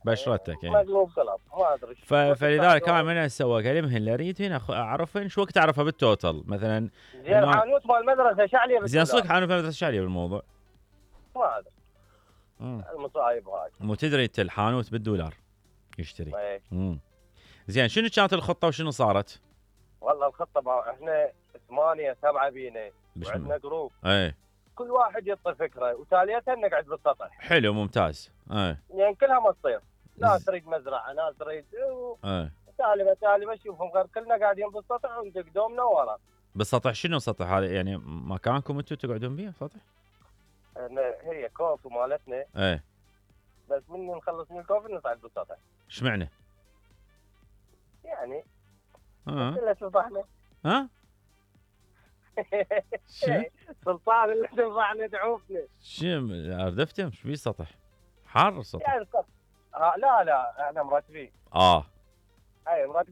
بشرتك مقلوب قلب ما ادري. فلذلك انا من سوى كلمه هلا اريد هنا اعرفين شو وقت اعرفها بالتوتل مثلا. زين حانوت مال المدرسه شعليه زين صدق حانوت مدرسه شعليه بالموضوع؟ ما ادري. المصايب هاي. مو تدري انت الحانوت بالدولار يشتري. زين شنو كانت الخطه وشنو صارت؟ والله الخطه احنا 8 7 بينا وعندنا جروب. كل واحد يعطي فكره وتاليتها نقعد بالسطح. حلو ممتاز. يعني كلها ما تصير. ناس تريد مزرعه ناس تريد تالي بشوفهم غير كلنا قاعدين بالسطح وندق دومنا ورا. بالسطح شنو سطح هذا يعني مكانكم انتم تقعدون بيه سطح؟ هي كوفي مالتنا. بس من نخلص من الكوفي نصعد بالسطح. ايش معنى؟ يعني كله سطحنا. سلطان اللي تنفعنا تعوفنا. شو اردفتم ايش بيه سطح؟ حار السطح. يعني لا احنا مرتبين. اي مرتبين.